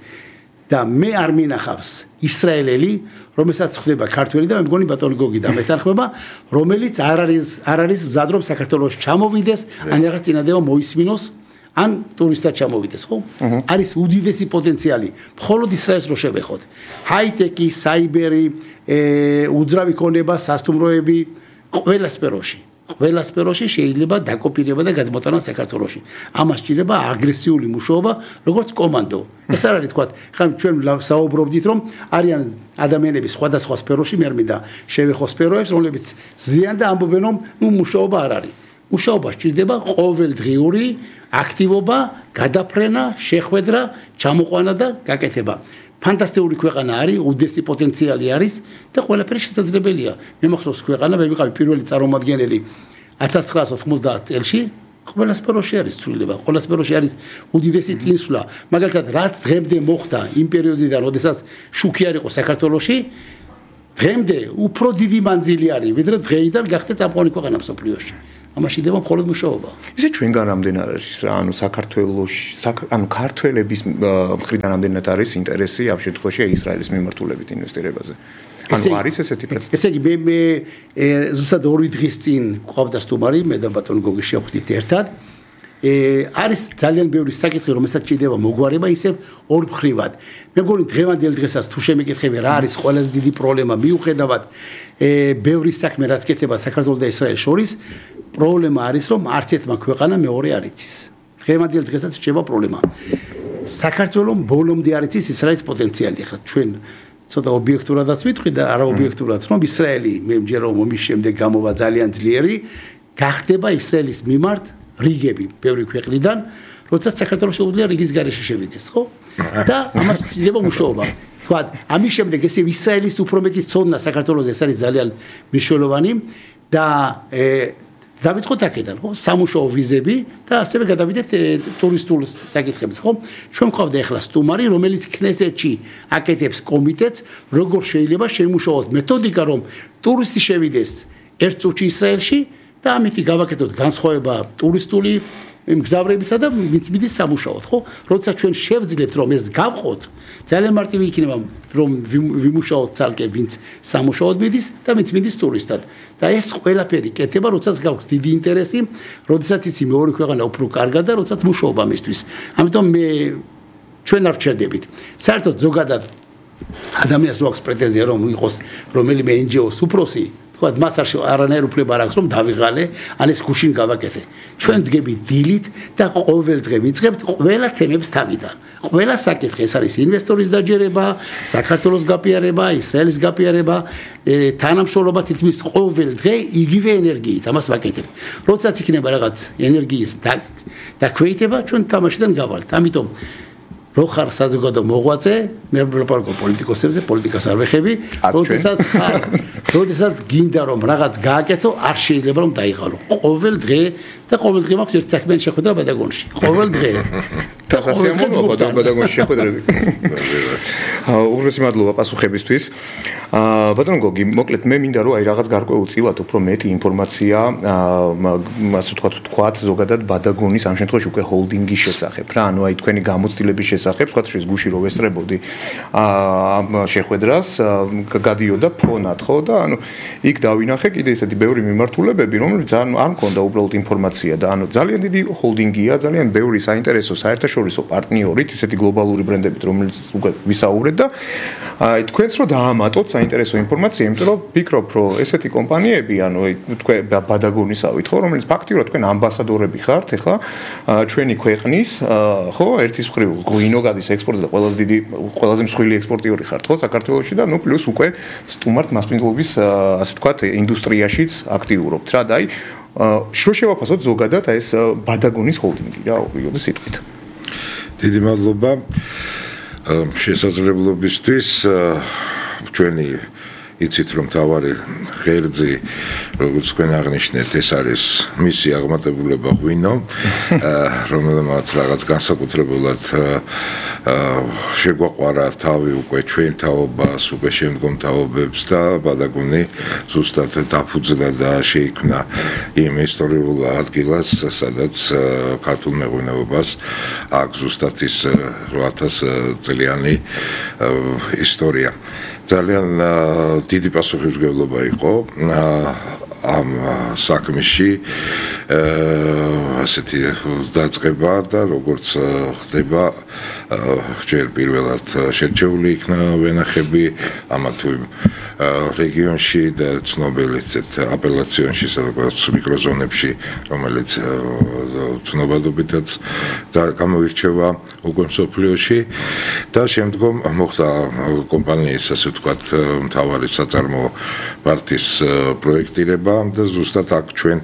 E: და მე არ მინახავს ისრაელელი, რომელსაც ხდება ქართველი და მე მგონი ბატონი გოგი და მეთანხმება, რომელიც არ არის არ არის მზად რომ საქართველოს ჩამოვიდეს, ან რაღაც წინადადება მოისმინოს, ან ტურისტად ჩამოვიდეს, ხო? არის უდიდესი პოტენციალი. მხოლოდ ისრაელს რო შევეხოთ. ჰაი-ტექი, საიბერი, უძრავი ქონება, სასტუმროები, ყველა სფეროში. ყველა სფეროში შეიძლება დაკოპირება და გადმოტანა საქართველოში. ამას სჭირდება აგრესიული მუშაობა, როგორც კომანდო. ეს არ არის თქვა, ხან ჩვენ საუბრობდით, რომ არიან ადამიანები სხვადასხვა სფეროში, მე არ მინდა შევეხო სფეროებს, რომლებიც ზიან და ამბობენ, რომ ნუ მუშაობა არ არის. მუშაობა სჭირდება ყოველდღიური აქტივობა, გადაფრენა, შეხვედრა, ჩამოყვანა და გაკეთება. ფანტასტიკური ქვეყანა არის, უდიდესი პოტენციალი არის და ყველაფერი შესაძლებელია. მე მახსოვს ქვეყანა, მე ვიყავი პირველი წარმომადგენელი ათას ცხრაასი ოცდაათი წელში, ყველა სფეროში არის ცვლილება, ყველა სფეროში არის უდიდესი წინსვლა. მაგალითად, რაც დღემდე მოხდა იმ პერიოდიდან, როდესაც შუქი არ იყო საქართველოში, დღემდე უფრო დიდი მანძილი არის, ვიდრე დღეიდან გახდა წამყვანი ქვეყანა მსოფლიოში. ამაში დება მხოლოდ მუშაობა.
C: ისე ჩვენგან რამდენ არის რა, ანუ საქართველოში, ანუ ქართველების მხრიდან რამდენად არის ინტერესი ამ შემთხვევაში ისრაელის მიმართულებით ინვესტირებაზე? ანუ არის ესეთი პროცესი?
E: ესე იგი, მე მე ზუსტად ორი დღის წინ ყავდა სტუმარი, მე და ბატონი გოგი შევხვდით ერთად. არის ძალიან ბევრი საკითხი, რომელსაც ჭირდება მოგვარება ისევ ორმხრივად. მე მგონი დღევანდელ დღესაც თუ შემეკითხები რა არის ყველაზე დიდი პრობლემა მიუხედავად ბევრი საქმე რაც კეთდება საქართველოს და ისრაელის შორის, პრობლემა არის რომ არც ერთმა ქვეყანა მეორე არ იცის. დღევანდელ დღესაც რჩება პრობლემა. საქართველოს ბოლომდე არ იცის ისრაელის პოტენციალი. ახლა ჩვენ ცოტა ობიექტურადაც ვიტყვი და არა ობიექტურად, რომ ისრაელი მე მჯერა რომ ომის შემდეგ გამოვა ძალიან ძლიერი, გახდება ისრაელის მიმართ რიგები ბევრი ქვეყნიდან, როდესაც საქართველოს შეუძლია რიგის გარეშე შევიდეს, ხო? და ამას შეიძლება მუშაობა. თქვა, ამის შემდეგ ესე ისრაელის უფრო მეტი ცოდნა საქართველოს ეს არის ძალიან მნიშვნელოვანი და დავიწყოთ აქედან, ხო? სამუშაო ვიზები და ასევე გადავიდეთ ტურისტულ საკითხებზე, ხო? ჩვენ გვყავდა ახლა სტუმარი, რომელიც ქნესეთში აკეთებს კომიტეტს, როგორ შეიძლება შემუშაოთ მეთოდიკა, რომ ტურისტი შევიდეს ერთ წუთში ისრაელში და ამითი გავაკეთოთ განსხვავება ტურისტული მგზავრებისა და ვინც მიდის სამუშაოდ, ხო? როდესაც ჩვენ შევძლებთ რომ ეს გავყოთ, ძალიან მარტივი იქნება რომ ვიმუშაოთ ცალკე ვინც სამუშაოდ მიდის და ვინც მიდის ტურისტად. და ეს ყველაფერი კეთება, როდესაც გაქვს დიდი ინტერესი, როდესაც იცი მეორე ქვეყანა უფრო კარგად და როდესაც მუშაობა მისთვის. ამიტომ მე ჩვენ არ ვჩერდებით. საერთოდ ზოგადად ადამიანს რო აქვს პრეტენზია რომ იყოს რომელიმე εν ჯი ოს უფროსი, თქვა მას არანაირ უფლება არ აქვს რომ დავიღალე, ან ეს გუშინ გავაკეთე. ჩვენ დგები დილით და ყოველ დღე ვიწყებთ ყველა თემებს თავიდან. ყველა საკითხი ეს არის ინვესტორის დაჯერება, საქართველოს გაპიარება, ისრაელის გაპიარება, თანამშრომლობა თითქმის ყოველ დღე იგივე ენერგიით ამას ვაკეთებთ. როდესაც იქნება რაღაც ენერგიის დაქვეითება, ჩვენ თამაშიდან გავალთ. ამიტომ რო ხარ საზოგადო მოღვაწე, მე ვლაპარაკობ პოლიტიკოსებზე, პოლიტიკას არ ვეხები, როდესაც ხარ, როდესაც გინდა რომ რაღაც გააკეთო, არ შეიძლება რომ დაიღალო. ყოველ დღე და ყოველ დღე მაქვს ერთ საქმიანი შეხვედრა ბადაგონში. ყოველ დღე.
C: დასასიამოვნოა ბადაგონში შეხვედრები. უღრესი მადლობა პასუხებისთვის. ბატონ გოგი, მოკლედ მე მინდა რომ აი რაღაც გარკვეულწილად უფრო მეტი ინფორმაცია, ასე ვთქვათ, თქვათ ზოგადად ბადაგონის ამ შემთხვევაში უკვე ჰოლდინგის შესახებ რა, ანუ აი თქვენი გამოცდილების შესახებ, თქვათ შეიძლება გუში რო ვესწრებოდი ამ შეხვედრას, გადიოდა ფონად, ხო და ანუ იქ დავინახე კიდე ესეთი ბევრი მიმართულებები, რომლებიც არ არ მქონდა უბრალოდ ინფორმაცია და ანუ ძალიან დიდი ჰოლდინგია, ძალიან ბევრი საინტერესო საერთაშორისო პარტნიორით, ესეთი გლობალური ბრენდებით, რომელიც უკვე ვისაუბრეთ და აი თქვენს რო დაამატოთ საინტერესო ინფორმაცია, იმიტომ რომ ვფიქრობ, რომ ესეთი კომპანიები, ანუ თქვენ ბადაგონისავით, ხო, რომელიც ფაქტიურად თქვენ ამბასადორები ხართ, ეხლა ჩვენი ქვეყნის, ხო, ერთის მხრივ ღვინო გადის ექსპორტზე და ყველაზე დიდი, ყველაზე მსხვილი ექსპორტიორი ხართ, ხო, საქართველოში და ნუ პლუს უკვე სტუმართ მასპინძლობის, ასე ვთქვათ, ინდუსტრიაშიც აქტიურობთ რა და აი შრო შევაფასოთ ზოგადად აი ეს ბადაგონის ჰოლდინგი რა, ოღონდ სიტყვით.
D: დიდი მადლობა შესაძლებლობისთვის ჩვენი იცით რომ თავარი ღერძი როგორც თქვენ აღნიშნეთ, ეს არის მისი აღმატებულება ღვინო, რომელმაც რაღაც განსაკუთრებულად შეგვაყვარა თავი უკვე ჩვენ თაობას, უკვე შემდგომ თაობებს და ბადაგუნი ზუსტად დაფუძნდა და შეიქმნა იმ ისტორიულ ადგილას, სადაც ქართულ მეღვინეობას აქვს ზუსტად ის რვაათას წლიანი ისტორია. ძალიან დიდი პასუხისმგებლობა იყო ამ საქმეში ასეთი დაწყება და როგორც ხდება ჯერ პირველად შერჩეული იქნა ვენახები ამა თუ იმ რეგიონში და ცნობილი აპელაციონში სადაც მიკროზონებში რომელიც ცნობადობითაც და გამოირჩევა უკვე მსოფლიოში და შემდგომ მოხდა კომპანიის ასე ვთქვათ მთავარი საწარმოო პარტიის პროექტირება და ზუსტად აქ ჩვენ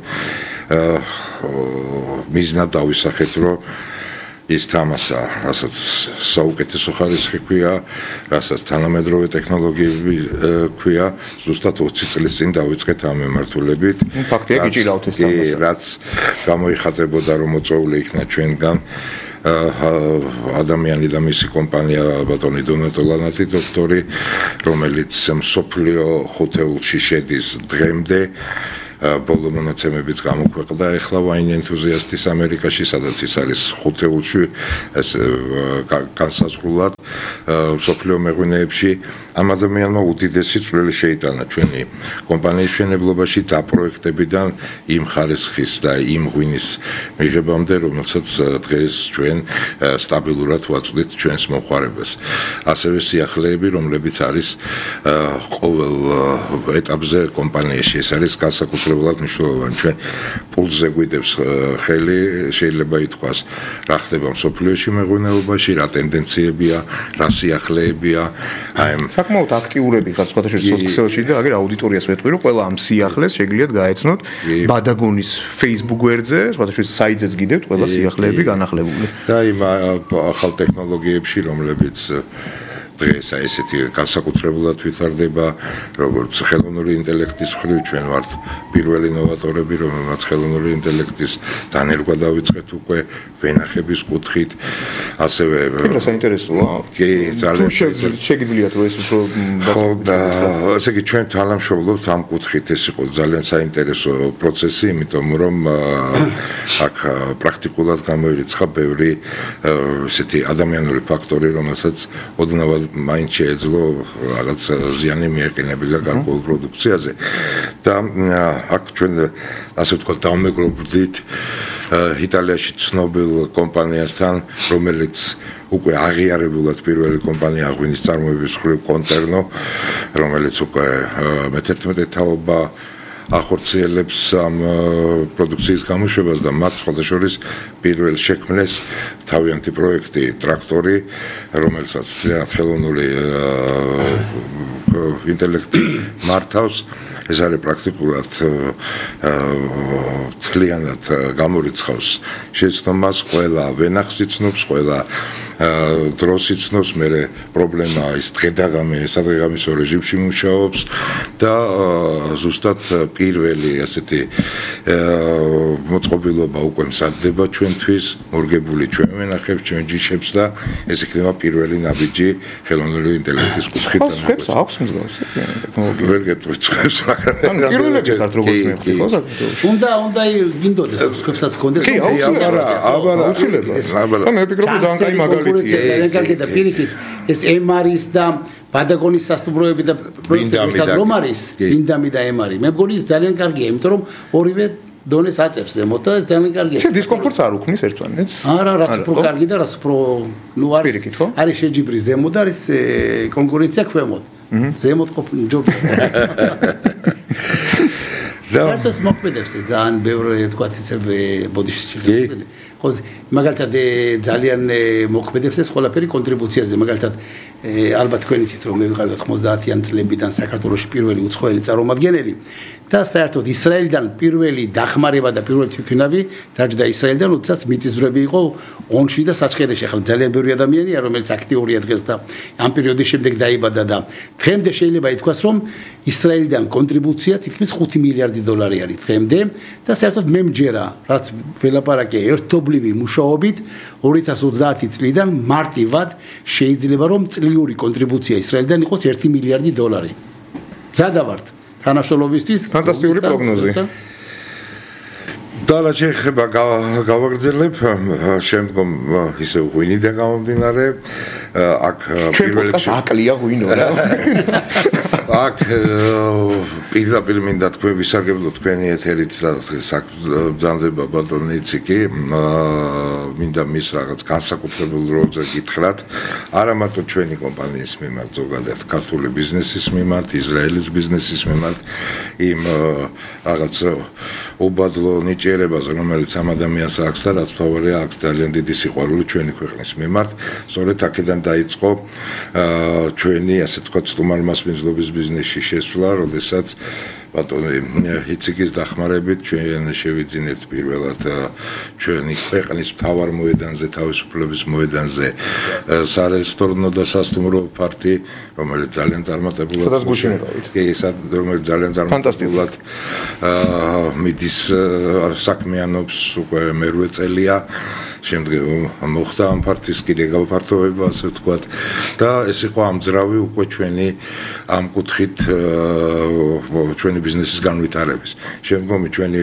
D: მიზნად დავისახეთ რომ ის თამასა, რასაც საუკეთესო ხარისხი ქვია, რასაც თანამედროვე ტექნოლოგიები ქვია, ზუსტად ოცი წლის წინ დავიწყეთ ამ მიმართულებით.
C: ფაქტია, გიჭირავთ ეს თამასა.
D: რაც გამოიხატებოდა რომ მოწვეული იქნა ჩვენგან ადამიანი და მისი კომპანია ბატონი დონატო ლანათი დოქტორი, რომელიც მსოფლიო ხუთეულში შედის დღემდე ბოლო მონაცემებიც გამოქვეყნდა ახლა ვაინ ენთუზიასტის ამერიკაში, სადაც ის არის ხუთეულში ეს განსაზღვრულად მსოფლიო მეღვინეებში ამ ადამიანმა უდიდესი წვლილი შეიტანა ჩვენი კომპანიის მშენებლობაში და პროექტებიდან იმ ხარისხის და იმ ღვინის მიღებამდე, რომელსაც დღეს ჩვენ სტაბილურად ვაწვდით ჩვენს მომხმარებელს. ასევე სიახლეები, რომლებიც არის ყოველ ეტაპზე კომპანიაში, ეს არის განსაკუთრებულად მნიშვნელოვანი. ჩვენ პულსზე გვიდევს ხელი, შეიძლება ითქვას, რა ხდება მსოფლიოში მეღვინეობაში, რა ტენდენციებია, რა სიახლეებია, აი
C: საკმაოდ აქტიურები ხართ სხვადასხვა სოციალში და აგერ აუდიტორიას ვეთქვი რომ ყველა ამ სიახლეს შეგიძლიათ გაეცნოთ ბადაგონის Facebook გვერდზე, სხვადასხვა საიტზეც გიდევთ ყველა სიახლეები განახლებული.
D: და იმ ახალ ტექნოლოგიებში, რომლებიც დღეს აი ესეთი განსაკუთრებულად ვითარდება, როგორც ხელოვნური ინტელექტის მხრივ ჩვენ ვართ პირველი ნოვატორები, რომელმაც ხელოვნური ინტელექტის დანერგვა დავიწყეთ უკვე ვენახების კუთხით, ასევე
C: რა საინტერესოა?
D: კი, ძალიან
C: შეგიძლიათ რომ ეს უფრო
D: ხო და ესე იგი ჩვენ თანამშრომლობთ ამ კუთხით, ეს იყო ძალიან საინტერესო პროცესი, იმიტომ რომ აქ პრაქტიკულად გამოირიცხა ბევრი ესეთი ადამიანური ფაქტორი, რომელსაც ოდნავად მაინც შეეძლო რაღაც ზიანი მიეყენებინა გარკვეულ პროდუქციაზე და აქ ჩვენ ასე ვთქვათ დავმეგობრდით იტალიაში ცნობილ კომპანიასთან, რომელიც უკვე აღიარებულად პირველი კომპანია ღვინის წარმოების მხრივ კონტერნო, რომელიც უკვე მეთერთმეტე თაობა ახორციელებს ამ პროდუქციის გამოშვებას და მათ სხვადასხვა პირველ შექმნეს თავიანთი პროექტი ტრაქტორი, რომელსაც ძალიან ხელოვნური ინტელექტი მართავს. ეს არის პრაქტიკულად თლიანად გამორიცხავს შეცდომას, ყველა ვენახს იცნობს, ყველა დროს იცნობს, მე პრობლემა ის დღედაღამე სადღეღამისო რეჟიმში მუშაობს და ზუსტად პირველი ასეთი მოწყობილობა უკვე მზადდება ჩვენთვის, მორგებული ჩვენ ვენახებს, ჩვენ ჯიშებს და ეს იქნება პირველი ნაბიჯი ხელოვნური ინტელექტის კუთხით.
C: ხებს აქვს მსგავსი ტექნოლოგია.
D: ვერ გეტყვით ხებს, მაგრამ
C: ან პირველები ხართ როგორც მე ვხდი, ხო საქართველოში.
E: უნდა უნდა გინდოდეს ხებსაც კონდეს.
C: კი,
D: აბარა, აბარა,
C: აუცილებლად.
D: აბარა.
C: და მე ვფიქრობ რომ ძალიან კაი მაგალითია.
E: ძალიან კარგი და პირიქით ეს ემარის და ბადაგონის სასტუმროები და პროექტები რომ არის, ინდამი და ემარი. მე მგონი ეს ძალიან კარგია, იმიტომ რომ ორივე დონეს აწევს ზემოთ და ეს ძალიან კარგია.
C: ეს დისკომფორტს არ უქმნის ერთმანეთს?
E: არა, რაც უფრო კარგი და რაც უფრო ნუ არის არის შეჯიბრი ზემოთ და არის კონკურენცია ქვემოთ. ზემოთ ყოფილი ჯობია. და მოქმედებს ძალიან ბევრი თქვა ისე ბოდიში შეგვიძლია. ხო, მაგალითად ძალიან მოქმედებს ეს ყველაფერი კონტრიბუციაზე, მაგალითად ალბათ თქვენ იცით რომ მე ვიყავი ოცდაათიან წლებიდან საქართველოში პირველი უცხოელი წარმომადგენელი და საერთოდ ისრაელიდან პირველი დახმარება და პირველი თვითმფრინავი დაჯდა ისრაელიდან, როდესაც მიწისძვრები იყო ონში და საჩხერეში. ახლა ძალიან ბევრი ადამიანია, რომელიც აქტიურია დღეს და ამ პერიოდის შემდეგ დაიბადა და დღემდე შეიძლება ითქვას, რომ ისრაელიდან კონტრიბუცია თითქმის ხუთი მილიარდი დოლარი არის დღემდე და საერთოდ მე მჯერა, რაც ველაპარაკე ერთობლივი მუშაობით ორი ათას ოცდაათი წლიდან მარტივად შეიძლება რომ წლიური კონტრიბუცია ისრაელიდან იყოს ერთი მილიარდი დოლარი. ზადავართ თანამშრომლობისთვის
C: ფანტასტიკური პროგნოზი.
D: და რაც ეხება გავაგრძელებ შემდგომ ისე ღვინიდან გამომდინარე აქ
C: პირველ რიგში აკლია ღვინო რა.
D: აქ პირდაპირ მინდა თქვენ ვისარგებლო თქვენი ეთერით ბრძანდება ბატონი იციკი მინდა მის რაღაც განსაკუთრებულ როლზე გითხრათ არა მარტო ჩვენი კომპანიის მიმართ ზოგადად ქართული ბიზნესის მიმართ ისრაელის ბიზნესის მიმართ იმ რაღაც უბადლო ნიჭიერებას რომელიც ამ ადამიანს აქვს და რაც თავარია აქვს ძალიან დიდი სიყვარული ჩვენი ქვეყნის მიმართ სწორედ აქედან დაიწყო ჩვენი ასე თქვა სტუმარმასპინძლობის ბიზნესში შესვლა როდესაც ბატონი იციკის დახმარებით ჩვენ შევიძინეთ პირველად ჩვენი ქვეყნის მთავარ მოედანზე თავისუფლების მოედანზე სარესტორნო და სასტუმრო პარტი რომელიც ძალიან წარმატებულად კი რომელიც ძალიან წარმატებულად მიდის საქმიანობს უკვე მერვე წელია შემდგომ მოხდა ამ პარტიის კიდე გავფართოვება ასე ვთქვათ და ეს იყო ამძრავი უკვე ჩვენი ამ კუთხით ჩვენი ბიზნესის განვითარების შემდგომი ჩვენი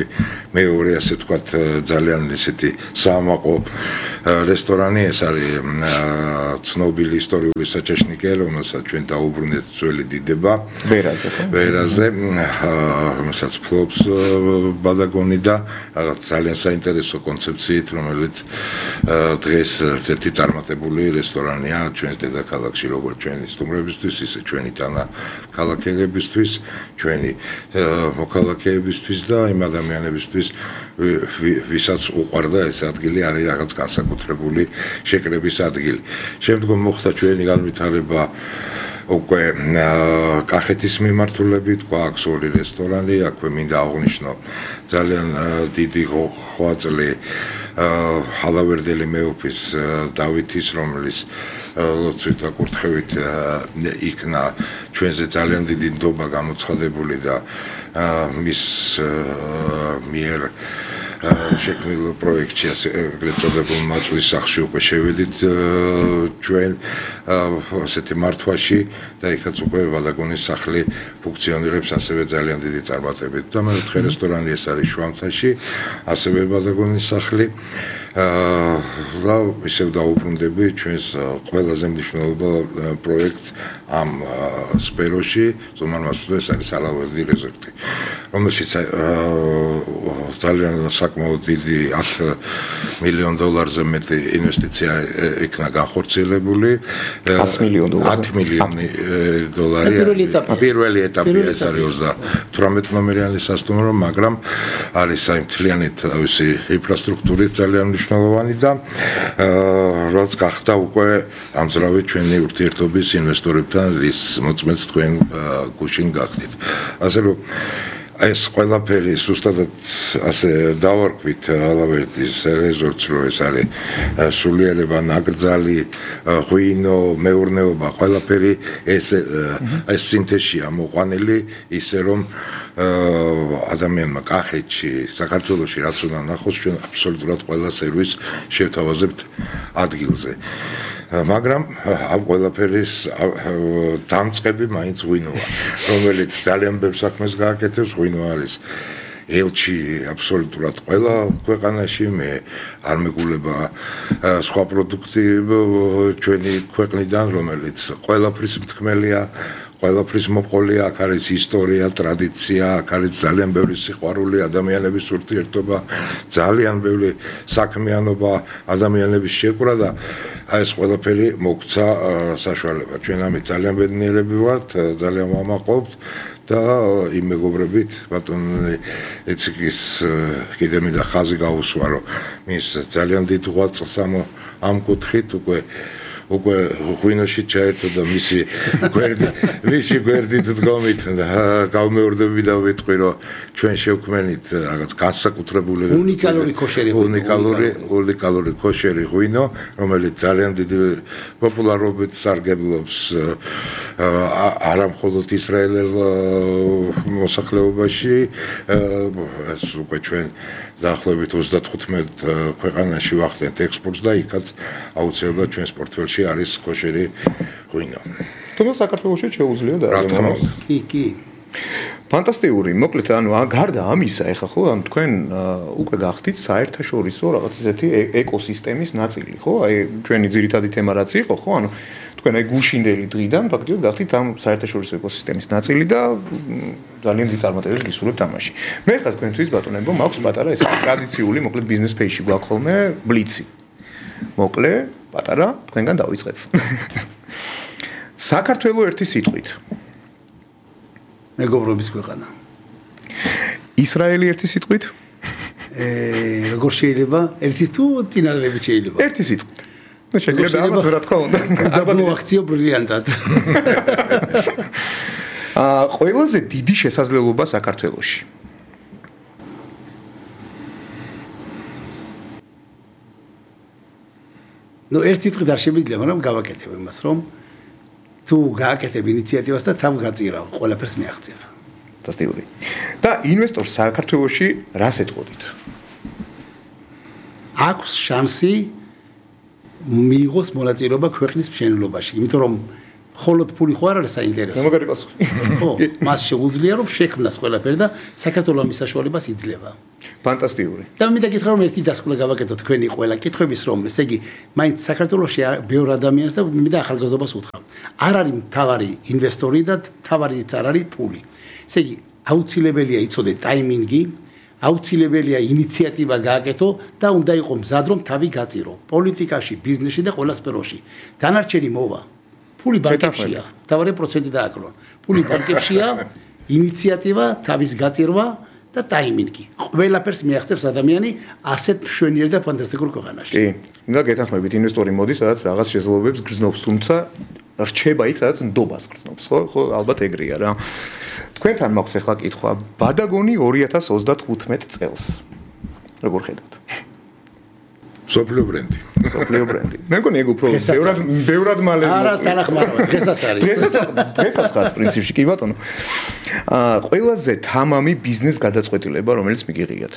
D: მეორე ასე ვთქვათ ძალიან ისეთი საამაყო რესტორანი ეს არის ცნობილი ისტორიული საჩეშნიკე რომელსაც ჩვენ დაუბრუნეთ ძველი დიდება
C: ვერაზე
D: ვერაზე რომელსაც ფლობს ბადაგონი და რაღაც ძალიან საინტერესო კონცეფციით რომელიც დღეს ერთი წარმატებული რესტორანია ჩვენს დედაქალაქში როგორც ჩვენი სტუმრებისთვის ისე ჩვენი თანა ქალაქელებისთვის ჩვენი მოქალაქეებისთვის და იმ ადამიანებისთვის ვისაც უყვარდა ეს ადგილი არის რაღაც განსაკუთრებული შეკრების ადგილი შემდგომ მოხდა ჩვენი განვითარება უკვე კახეთის მიმართულებით გვაქვს ორი რესტორანი აქვე მინდა აღვნიშნო ძალიან დიდი ხვაწლი ჰალავერდელი მეუფის დავითის რომელიც ლოცვით და კურთხევით იქნა ჩვენზე ძალიან დიდი ნდობა გამოცხადებული და მის მიერ შექმნილ პროექტში ეგრეთ წოდებულ მაწვრის სახში უკვე შევედით ჩვენ ასეთი მართვაში და იქაც უკვე ბადაგონის სახლი ფუნქციონირებს ასევე ძალიან დიდი წარმატებით და მეოთხე რესტორანი ეს არის შვამთაში ასევე ბადაგონის სახლი და ისევ დაუბრუნდები ჩვენს ყველაზე მნიშვნელოვან პროექტს ამ სფეროში ზომარმასულა ეს არის ალავერდი რეზორტი რომელშიც ძალიან საკმაოდ დიდი ათი მილიონ დოლარზე მეტი ინვესტიცია იქნა განხორციელებული
C: ათი მილიონ დოლარი
D: ათი მილიონი დოლარი პირველი ეტაპი ეს არის ოცდათვრამეტ ნომერიანი სასტუმრო მაგრამ არის აი მთლიანი თავისი ინფრასტრუქტურით ძალიან მნიშვნელოვანი და რაც გახდა უკვე ამძრავი ჩვენი ურთიერთობის ინვესტორებთან რის მოწმეც თქვენ გუშინ გახდით ასე რომ ეს ყველაფერი ზუსტად ასე დავარქვით ალავერდის რეზორტს რომ ეს არის სულიერება ნაკრძალი ღვინო მეურნეობა ყველაფერი ეს ეს სინთეზია მოყვანილი ისე რომ ადამიანმა კახეთში საქართველოში რაც უნდა ნახოს ჩვენ აბსოლუტურად ყველა სერვისს შევთავაზებთ ადგილზე მაგრამ ამ ყველაფერის დამწყები მაინც ღვინოა რომელიც ძალიან ბევრ საქმეს გააკეთებს ღვინო არის ელჩი აბსოლუტურად ყველა ქვეყანაში მე არ მეგულება სხვა პროდუქტი ჩვენი ქვეყნიდან რომელიც ყველაფრის მთქმელია ყველაფრის მოყოლია აქ არის ისტორია ტრადიცია აქ არის ძალიან ბევრი სიყვარული ადამიანების ურთიერთობა ძალიან ბევრი საქმიანობა ადამიანების შეკვრა და ეს ყველაფერი მოგცა საშუალება ჩვენ ამით ძალიან ბედნიერები ვართ ძალიან ვამაყობთ და იმ მეგობრებით ბატონი ეციკის კიდე მინდა ხაზი გაუსვა რომ მის ძალიან დიდ ღვაწლს ამ ამ კუთხით უკვე უკვე ღვინოში ჩაერთო და მისი გვერდი მისი გვერდით დგომით გავმეორდები და ვიტყვი რომ ჩვენ შევქმნით რაღაც განსაკუთრებული
E: უნიკალური ქოშერი
D: უნიკალური უნიკალური ქოშერი ღვინო რომელიც ძალიან დიდი პოპულარობით სარგებლობს არა მხოლოდ ისრაელელ მოსახლეობაში ეს უკვე ჩვენ დაახლოებით ოცდათხუთმეტ ქვეყანაში ვახდენთ ექსპორტს და იქაც აუცილებლად ჩვენს პორტფელში არის ქოშერი ღვინო.
C: თუმცა საქართველოში შეუძლია და
D: რა თქმა უნდა.
E: კი, კი.
C: ფანტასტიკური, მოკლედ ანუ გარდა ამისა, ეხლა ხო, ანუ თქვენ უკვე გახდით საერთაშორისო რაღაც ისეთი ეკოსისტემის ნაწილი, ხო? აი ჩვენი ძირითადი თემა რაც იყო, ხო? ანუ თქვენ აი გუშინდელი დღიდან ფაქტიურად გახდით ამ საერთაშორისო ეკოსისტემის ნაწილი და ძალიან დიდი წარმატებებს გისურვებთ ამაში. მე ხა თქვენთვის ბატონებო, მაქვს პატარა ეს ტრადიციული, მოკლედ ბიზნეს ფეისში გვაქვს ხოლმე ბლიცი. მოკლე, პატარა, თქვენგან დავიწყებ. საქართველოს ერთი სიტყვით.
E: მეგობრობის ქვეყანა.
C: ისრაელი ერთი სიტყვით?
E: ე, როგორ შეიძლება? ერთის თუ წინადადებით შეიძლება?
C: ერთი სიტყვით. ну შეგვიძლია ამას რა თქმა უნდა.
E: ალბათ აქციო ბრილიანტად.
C: აა ყველაზე დიდი შესაძლებლობა საქართველოში.
E: ну ერთ სიტყვით არ შემიძლია, მაგრამ გავაკეთებ იმას, რომ თუ გააკეთებ ინიციატივას და თავ გაწირავ, ყველაფერს მიაღწევ.
C: ფანტასტიკური. და ინვესტორს საქართველოში რას ეთყოდით?
E: აქვს შანსი მიიღოს მონაწილეობა ქვეყნის მშენებლობაში, იმიტომ რომ მხოლოდ ფული ხო არ არის საინტერესო.
C: მაგარი პასუხი.
E: ხო, მას შეუძლია რომ შექმნას ყველაფერი და საქართველოს მის საშუალებას იძლევა.
C: ფანტასტიკური.
E: და მე დაგითხრა რომ ერთი დასკვნა გავაკეთოთ თქვენი ყველა კითხვების რომ, ესე იგი, მაინც საქართველოში ბევრ ადამიანს და მე და ახალგაზრდობას უთხრა. არ არის მთავარი ინვესტორი და მთავარიც არ არის ფული. ესე იგი, აუცილებელია იცოდე ტაიმინგი, აუცილებელია ინიციატივა გააკეთო და უნდა იყოს მზად რომ თავი გაწირო. პოლიტიკაში, ბიზნესში და ყველა სფეროში. დანარჩენი მოვა. ფული ბანკებშია, მთავარი პროცენტი დააკლონ. ფული ბანკებშია, ინიციატივა, თავის გაწირვა და ტაიმინგი. ყველაფერს მიაღწევს ადამიანი ასეთ მშვენიერ და ფანტასტიკურ ქვეყანაში.
C: კი, უნდა გეთანხმებით ინვესტორი მოდის, სადაც რაღაც შესაძლებლობებს გრძნობს, თუმცა რჩება იქ, სადაც ნდობას გრძნობს, ხო? ხო, ალბათ ეგრეა რა. თქვენთან მაქვს ახლა კითხვა, ბადაგონი ორი ათას ოცდათხუთმეტ წელს. როგორ ხედავთ?
D: სოფლიო ბრენდი.
C: სოფლიო ბრენდი. მე მგონი ეგ უფრო ბევრად ბევრად მალე
E: არა, თანახმარობა, დღესაც არის.
C: დღესაც დღესაც ხარ პრინციპში კი ბატონო. აა ყველაზე თამამი ბიზნეს გადაწყვეტილება, რომელიც მიგიღიათ.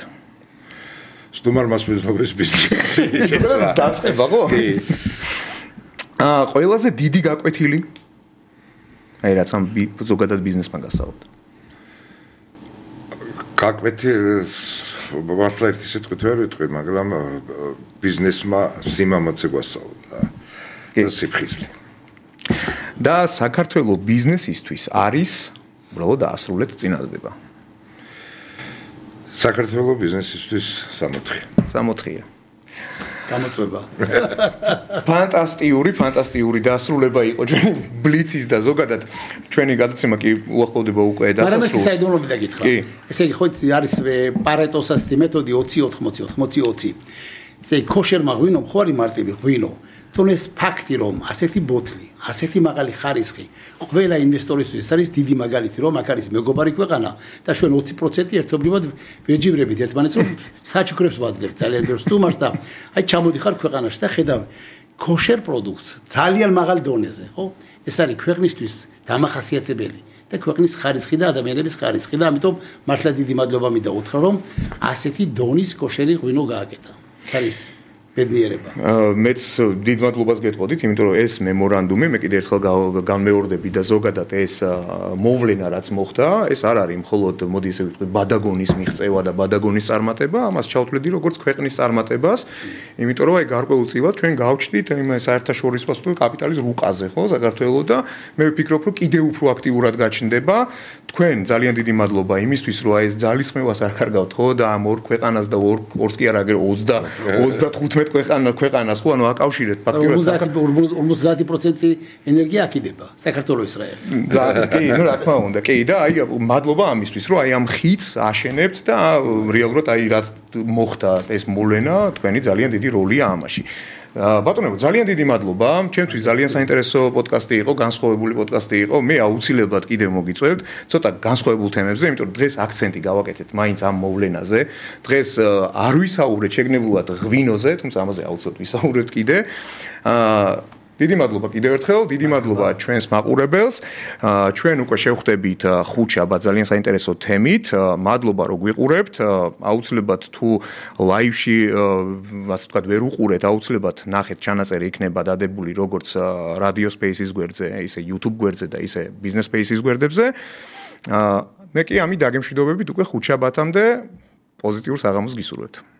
D: სტუმარ მასპინძლობის ბიზნესი.
C: დაწყება ხო? კი. აა ყველაზე დიდი გაკვეთილი. აი რაც ამ ზოგადად ბიზნესმა გასაუბროთ.
D: გაკვეთილს მართლა ერთი სიტყვით ვერ ვიტყვი, მაგრამ ბიზნესმა სიმამაცე გვასწავლა და სიფხიზლე. და
C: საქართველოს ბიზნესისთვის არის უბრალოდ დაასრულეთ წინადადება.
D: საქართველოს ბიზნესისთვის სამოთხე.
C: სამოთხეა.
E: გამოწვება.
C: ფანტასტიკური, ფანტასტიკური დასრულება იყო ჩვენი ბლიცის და ზოგადად ჩვენი გადაცემა კი უახლოვდება უკვე დასასრულს.
E: მაგრამ საიდუმლოები დაგითხრა. ესე იგი ხო არის პარეტოს ასეთი მეთოდი ოცი ოთხმოცი ოთხმოცი ოცი. ესე იგი ქოშერმა ღვინო ხო არის მარტივი ღვინო. თუნდაც ეს ფაქტი რომ ასეთი ბოთლი, ასეთი მაღალი ხარისხი ყველა ინვესტორისთვის არის დიდი მაგალითი რომ აქ არის მეგობარი ქვეყანა და ჩვენ ოცი პროცენტი ერთობლივად ვეჯიბრებით ერთმანეთს რომ საჩუქრებს ვაძლევთ ძალიან ბევრ სტუმარს და აი ჩამოდიხარ ქვეყანაში და ხედავ ქოშერ პროდუქტს ძალიან მაღალ დონეზე, ხო? ეს არის ქვეყნისთვის დამახასიათებელი და ქვეყნის ხარისხი და ადამიანების ხარისხი და ამიტომ მართლა დიდი მადლობა მინდა უთხრა რომ ასეთი დონის ქოშერი ღვინო გააკეთა. ეს არის ბედნიერება.
C: მეც დიდ მადლობას გეტყოდით, იმიტომ რომ ეს მემორანდუმი მე კიდე ერთხელ განმეორდები და ზოგადად ეს მოვლენა რაც მოხდა, ეს არ არის მხოლოდ მოდი ესე ვიტყვი ბადაგონის მიღწევა და ბადაგონის წარმატება, ამას ჩავთვლედი როგორც ქვეყნის წარმატებას, იმიტომ რომ აი გარკვეულწილად ჩვენ გავჩდით იმ საერთაშორისო კაპიტალის რუკაზე, ხო, საქართველოს და მე ვფიქრობ, რომ კიდევ უფრო აქტიურად გაჩნდება. თქვენ ძალიან დიდი მადლობა იმისთვის, რომ აი ეს ძალისხმევას არ კარგავთ, ხო, და ამ ორ ქვეყანას და ორ ორს კი არ აგერ ოცდათხუთმეტ ქვეყანა ქვეყანას ხო ანუ აკავშირეთ
E: ფაქტიურად ორმოცდაათი პროცენტი ენერგია აქიდება საქართველოს ისრაელი.
C: კი, ну რა თქმა უნდა, კი და აი მადლობა ამისთვის, რომ აი ამ ხიდს აშენებთ და რეალურად აი რაც მოხდა ეს მოვლენა, თქვენი ძალიან დიდი როლია ამაში. ბატონო, ძალიან დიდი მადლობა. ჩემთვის ძალიან საინტერესო პოდკასტი იყო, განსხვავებული პოდკასტი იყო. მე აუცილებლად კიდევ მოგიწევთ ცოტა განსხვავებულ თემებზე, იმიტომ რომ დღეს აქცენტი გავაკეთეთ მაინც ამ მოვლენაზე. დღეს არ ვისაუბრეთ შეგნებულად ღვინოზე, თუმცა ამაზე აუცილებლად ვისაუბრებთ კიდე. აა დიდი მადლობა კიდევ ერთხელ, დიდი მადლობა ჩვენს მაყურებელს. ჩვენ უკვე შევხვდებით ხუთშაბათ ძალიან საინტერესო თემით. მადლობა რომ გვიყურებთ. აუცილებლად თუ ლაივში, ასე ვთქვათ, ვერ უყურეთ, აუცილებლად ნახეთ, ჩანაწერი იქნება დადებული როგორც Radio Spaces გვერდზე, ისე YouTube გვერდზე და ისე Business Spaces გვერდებზე. მე კი ამით დაგემშვიდობებით უკვე ხუთშაბათამდე პოზიტიურ საღამოს გისურვებთ.